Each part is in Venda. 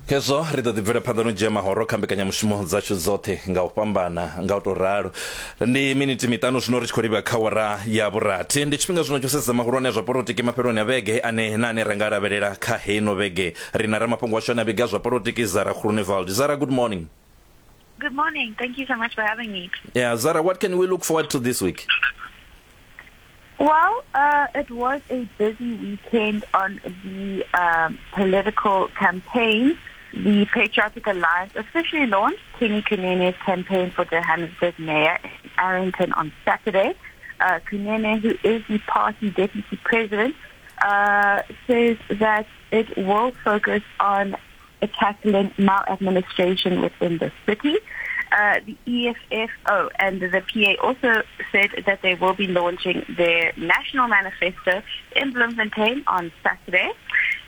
Khezwo ri ḓo ḓi bvela phanḓa no dzhia mahoro kha mbekanyamushumo dzashu dzoṱhe nga u fhambana nga u tou ralo. Ndi miniti miṱanu zwino ri tshi khou livha kha wara ya vhurathi. Ndi tshifhinga zwino tsho sedza mahulwane a zwa polotiki mafheloni a vhege ane na ane ra nga lavhelela kha heino vhege. Ri na ramafhungo washu ane a vhiga zwa polotiki Zara Groenewald. Zara, good morning. Good morning. Thank you so much for having me. Yeah, Zara, what can we look forward to this week? Well, it was a busy weekend on the political campaign. The Patriotic Alliance officially launched Kenny Kunene's campaign for Johannesburg Mayor in Arrington on Saturday. Kunene, who is the party deputy president, says that it will focus on tackling maladministration within the city. The EFF, oh, and the PA also said that they will be launching their national manifesto in Bloemfontein on Saturday.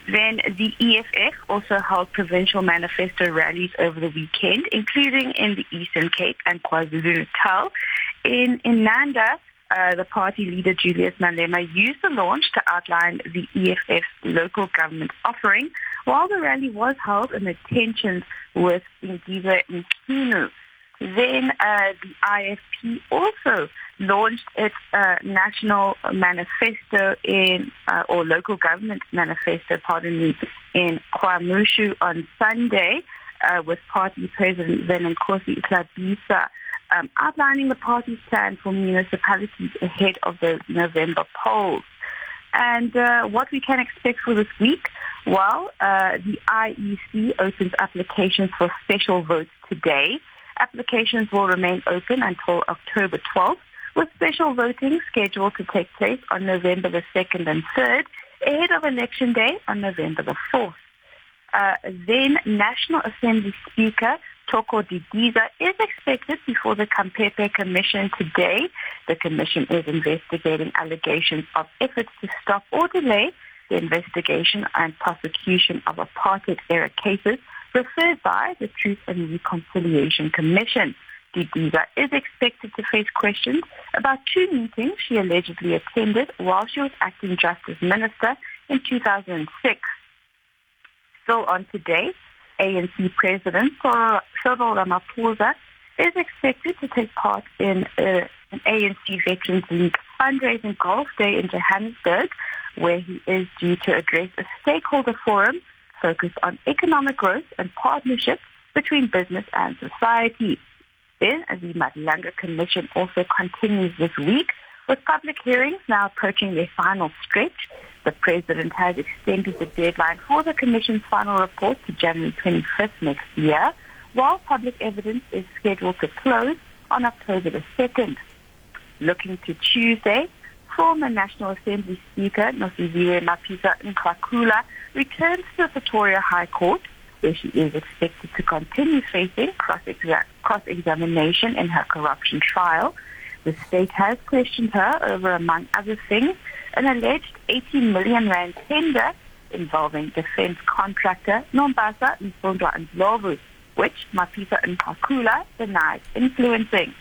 Then the EFF also held provincial manifesto rallies over the weekend, including in the Eastern Cape and KwaZulu-Natal. In Inanda, the party leader Julius Malema used the launch to outline the EFF's local government offering, while the rally was held amid tensions with Ngizwe Mchunu. Then the IFP also launched its national manifesto in, or local government manifesto, pardon me, in KwaMashu on Sunday, with party president Velenkosini Hlabisa outlining the party's plan for municipalities ahead of the November polls. And what we can expect for this week, well, the IEC opens applications for special votes today. Applications will remain open until October 12th, with special voting scheduled to take place on November the 2nd and 3rd, ahead of Election Day on November the 4th. Then National Assembly Speaker Thoko Didiza is expected before the Khampepe Commission today. The commission is investigating allegations of efforts to stop or delay the investigation and prosecution of apartheid-era cases referred by the Truth and Reconciliation Commission. Didiza is expected to face questions about two meetings she allegedly attended while she was acting Justice Minister in 2006. Still on today, ANC President Cyril Ramaphosa is expected to take part in an ANC Veterans League fundraising golf day in Johannesburg, where he is due to address a stakeholder forum focused on economic growth and partnerships between business and society. Then, the Madlanga Commission also continues this week, with public hearings now approaching their final stretch. The president has extended the deadline for the commission's final report to January 25th next year, while public evidence is scheduled to close on October the 2nd. Looking to Tuesday, former National Assembly Speaker Nosiviwe Mapisa Nqakula returns to the Pretoria High Court, where she is expected to continue facing cross-examination in her corruption trial. The state has questioned her over, among other things, an alleged 80 million rand tender involving defense contractor Nombasa Mfundwa Ndlovu, which Mapisa Nqakula denies influencing.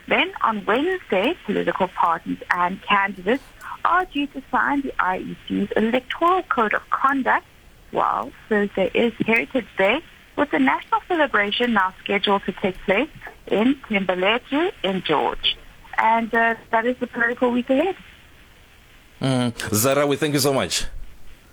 Then on Wednesday, political parties and candidates are due to sign the IEC's Electoral Code of Conduct, while Thursday is Heritage Day, with the national celebration now scheduled to take place in Thembalethu in George. And that is the political week ahead. Zara, we thank you so much.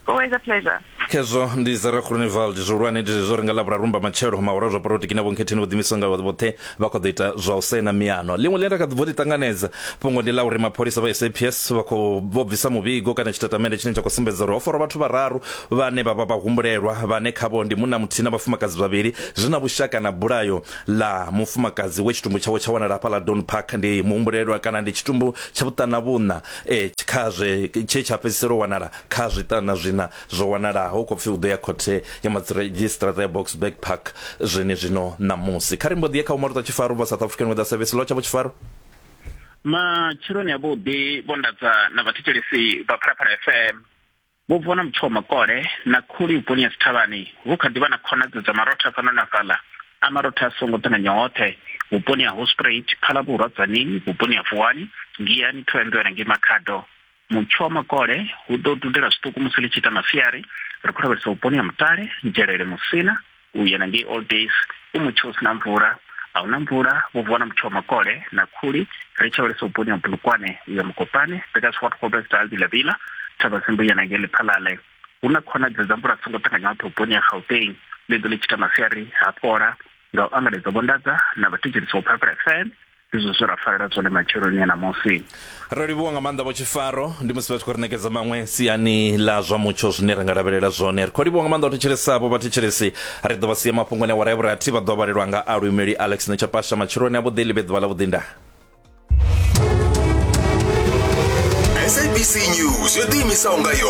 Always a pleasure. Khezwo ndi Zara Groenewald. Zwihulwane ndi zwo ri nga ḽavhuraru mbamatshelo mahoro a zwa polotiki na vhonkhetheni vho ḓiimisaho nga vhoṱhe vha khou ḓo ita zwa u saina miano. Ḽiṅwe ḽine ra kha ḓi bvo ḽi ṱanganedza fhungo ndi ḽa uri mapholisa vha SAPS vha khou vho bvisa muvhigo kana tshitatamennde tshine tsha khou sumbedza uri ho farwa vhathu vhararu vhane vha vha vhahumbulelwa vhane khavho ndi munna muthihi na vhafumakadzi vhavhili zwi na vhushaka na bulayo ḽa mufumakadzi we tshitumbu tshawe tsha wanala hafha ḽa Dawn Park. Ndi muhumbulelwa kana ndi tshitumbu tsha vhuṱana vhuṋa kha zwe tshe tsha fhedzisela u wanala kha zwiṱana zwiṋa zwo wanalaho. Hu khou pfi u ḓo ya khothe ya madzhisiṱiraṱa ya Boksburg Park zwenezwino ṋamusi. Kha ri mbo ḓi ye kha Vho Maruta Tshifaro vha South African Weather Service. Lotsha Vho Tshifaro. Matsheloni avhuḓi Vho Ndadza na vhathetshelesi vha Phalaphala FM. Vho bviwa na mutsho wa makole na khuli vhuponi ha dzithavhani. Hu kha ḓi vha na khonadzeo dza marotha fhano na fhaḽa a marotha a songo ṱanganywa hoṱhe vhuponi ha Hoedspruit, Phalaborwa, Tzaneen, vhuponi ha Vuwani, Giyani, Thohoyandou na ngei Makhado. Mutsho wa makole hu ḓo dudela zwiṱuku musi ḽi tshi ita masiari. Ri khou lavhelesa vhuponi ha Mutale, Nzhelele, Musina u ya na ngei All Days u mutsho u si na mvula. A huna mvula, vho vuwa na mutsho wa makole na khuli. Ri tshi lavhelesa vhuponi ha Bulukwane u ya Mokopane, Petersfort, Groblersdal, Vilavila, Thabazimbi u ya na ngei Lephalale. Hu na khonadzeo dza mvula dzi songo ṱanganyaho vhuponi ha Gauteng ḽi ḓo ḽi tshi ita masiari ha fhola nga u angaredza Vho Ndadza na vhathetshelesi vha Phalaphala FM. Ndi zwe zwe ra farela zwone matsheloni a ṋamusi. Ro livhuwa nga maanḓa Vho Tshifaro, ndi musi vha tshi khou ri ṋekedza maṅwe siani ḽa zwa mutsho zwine ra nga lavhelela zwone. Ri khou livhuwa nga maanḓa u thetshelesa avho vhathetshelesi. Ri ḓo vha sia mafhungoni awara ya vhurathi vha ḓo vhalelwa nga aluimeli Alex Nechapasha. Matsheloni avhuḓi ḽi vhe ḓuvha ḽa vhuḓi ndaa. SABC News yo ḓiimisaho nga yo.